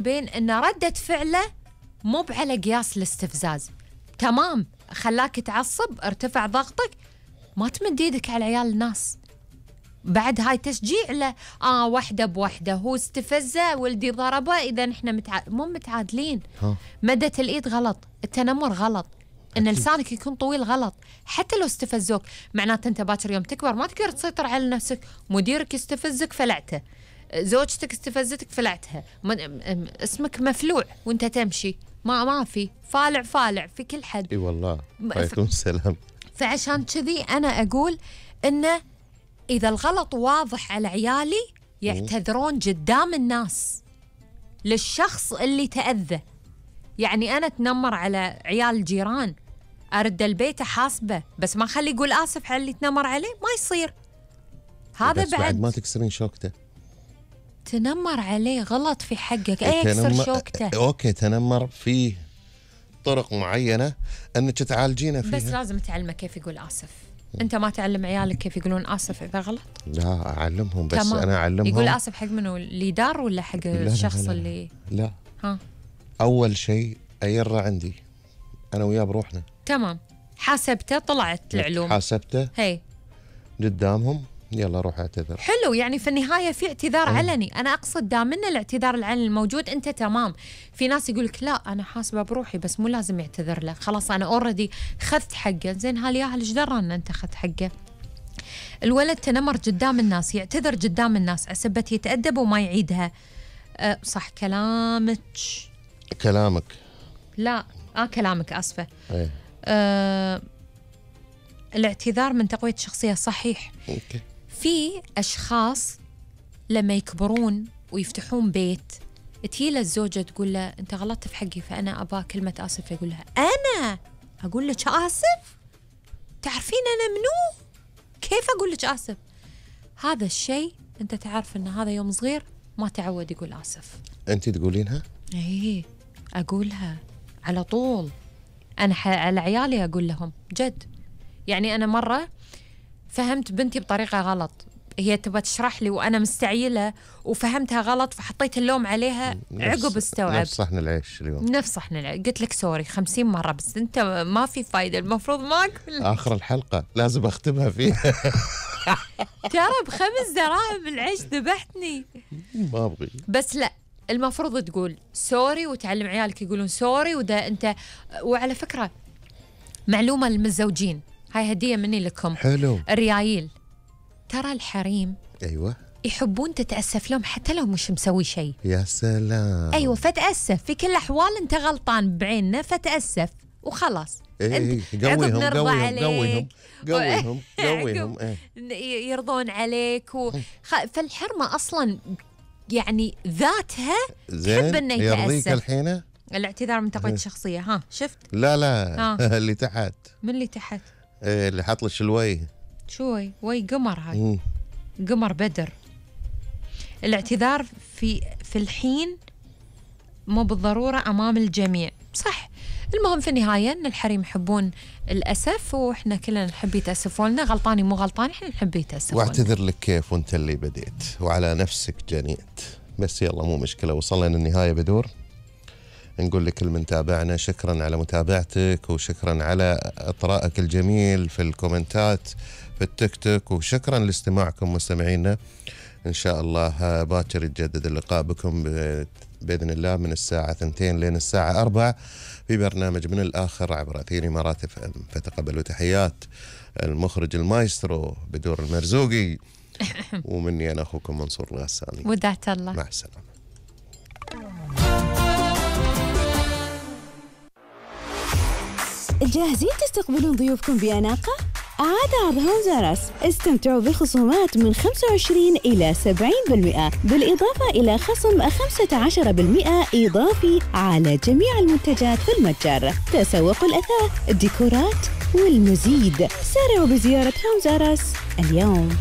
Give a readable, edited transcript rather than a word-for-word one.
بين إن ردة فعله مو على قياس الاستفزاز، تمام خلاك تعصب، ارتفع ضغطك، ما تمد ايدك على عيال الناس. بعد هاي تشجيع له، وحده بوحده، هو استفزه ولدي ضربه، اذا احنا مو متعادلين. مدت الايد غلط، التنمر غلط، ان لسانك يكون طويل غلط. حتى لو استفزوك معناته انت باكر يوم تكبر ما تقدر تسيطر على نفسك. مديرك يستفزك فلعته، زوجتك استفزتك فلعتها، اسمك مفلوع وانت تمشي، ما في فالع في كل حد. اي والله عليكم السلام. فعشان كذي انا اقول انه اذا الغلط واضح على عيالي يعتذرون قدام الناس للشخص اللي تأذى. يعني انا اتنمر على عيال الجيران، ارد البيت احاسبه، بس ما خلي يقول اسف على اللي تنمر عليه، ما يصير. هذا بعد ما تكسرين شوكته. تنمر عليه غلط في حقك، يكسر شوكته. اوكي تنمر في طرق معينه انك تعالجينه فيها، بس لازم تعلمه كيف يقول اسف. انت ما تعلم عيالك كيف يقولون اسف اذا غلط؟ لا اعلمهم، بس تمام. انا اعلمهم. يقول اسف حق منو؟ اللي دار ولا حق الشخص لا. اللي لا اول شيء ايره عندي انا وياه بروحنا. تمام، حاسبته، طلعت العلوم، حاسبته هي قدامهم، يلا روح اعتذر. حلو، يعني في النهايه في اعتذار علني. انا اقصد دامنا الاعتذار العلني الموجود انت تمام. في ناس يقولك لا انا حاسبه بروحي، بس مو لازم يعتذر له، خلاص انا اوريدي خذت حقه. زين هالياهل ايش درى ان انت خذت حقه؟ الولد تنمر قدام الناس، يعتذر قدام الناس عسبت يتأدب وما يعيدها. صح كلامك لا كلامك اسفه. الاعتذار من تقوية الشخصية، صحيح. أوكي. في أشخاص لما يكبرون ويفتحون بيت تجيله الزوجة تقول له أنت غلطت في حقي فأنا أبا كلمة آسف، يقول لها أنا أقول لك آسف؟ تعرفين أنا منو؟ كيف أقول لك آسف؟ هذا الشيء أنت تعرف أن هذا يوم صغير ما تعود يقول آسف. أنت تقولينها؟ إيه أقولها على طول. أنا على عيالي أقول لهم جد. يعني أنا مرة فهمت بنتي بطريقة غلط، هي تبغى تشرح لي وأنا مستعجلة وفهمتها غلط، فحطيت اللوم عليها. عقب استوعب نفس صحن العيش اليوم، نفس صحن العيش. قلت لك سوري 50 مرة، بس أنت ما في فايدة، المفروض ما أقول. آخر الحلقة لازم أختمها فيها. ترى ب5 دراهم العيش ذبحتني. ما أبغي، بس لا، المفروض تقول سوري وتعلم عيالك يقولون سوري. وده أنت، وعلى فكرة معلومة للمتزوجين، هاي هدية مني لكم. حلو. الريايل، ترى الحريم أيوة يحبون تتأسف لهم حتى لو مش مسوي شيء. يا سلام. أيوة، فتأسف في كل الأحوال، أنت غلطان بعيننا فتأسف وخلاص. قويهم. يرضون عليك فالحرمة أصلا يعني ذاتها تحب إنه يتأسف. يرضيك الحين الاعتذار من تقوية الشخصية. شفت؟ لا اللي تحت. من اللي تحت؟ اللي حط لك الوي. شوي وي قمر، هاي قمر بدر. الاعتذار في الحين مو بالضرورة أمام الجميع، صح. المهم في النهاية أن الحريم يحبون الأسف، وإحنا كلنا نحب يتأسفون لنا، غلطاني مو غلطاني إحنا نحب يتأسفون. واعتذر لك كيف وأنت اللي بديت وعلى نفسك جنيت. بس يلا مو مشكلة، وصلنا للنهاية بدور. نقول لكل من تابعنا شكرا على متابعتك، وشكرا على إطراءك الجميل في الكومنتات في التيك توك، وشكرا لاستماعكم مستمعينا. إن شاء الله باكر يتجدد اللقاء بكم بإذن الله من الساعة 2 لين الساعة 4 في برنامج من الآخر عبر أثير إمارات FM. فتقبلوا تحيات المخرج المايسترو بدور المرزوقي، ومني أنا أخوكم منصور الغساني. ودعت الله، مع السلامة. جاهزين تستقبلون ضيوفكم بأناقة؟ عاد عرض هومزارس، استمتعوا بخصومات من 25 إلى 70%، بالإضافة إلى خصم 15% إضافي على جميع المنتجات في المتجر. تسوقوا الأثاث، الديكورات والمزيد. سارعوا بزيارة هومزارس اليوم.